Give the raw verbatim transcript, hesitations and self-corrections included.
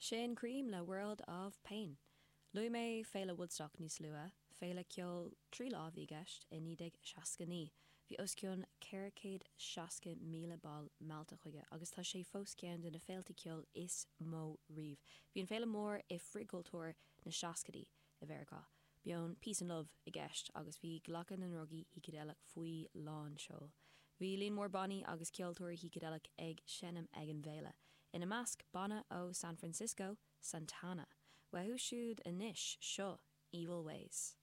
Sin Cream le World of Pain. Luaigh mé Féile Woodstock níos luaithe, féile ceoil trí lá a bhí i gceist i naoi déag seasca naoi. Bhí os cionn ceithre chéad seasca míle ball meallta chuige agus tá sé fós ceann de na féilte ceoil is mó riamh. Bhí an féile mór i frithchultúr na seascaidí i Mheiriceá. Bhí peace and love i gceist agus bhí glacadh na ndrugaí shícideileach faoi lán seoil. Bhí líon mór bannaí agus ceoltóirí shícideileach ag seinm ag an bhféile. Ina measc banna ó San Francisco, Santana. Uathu siúd anois seo Evil Ways.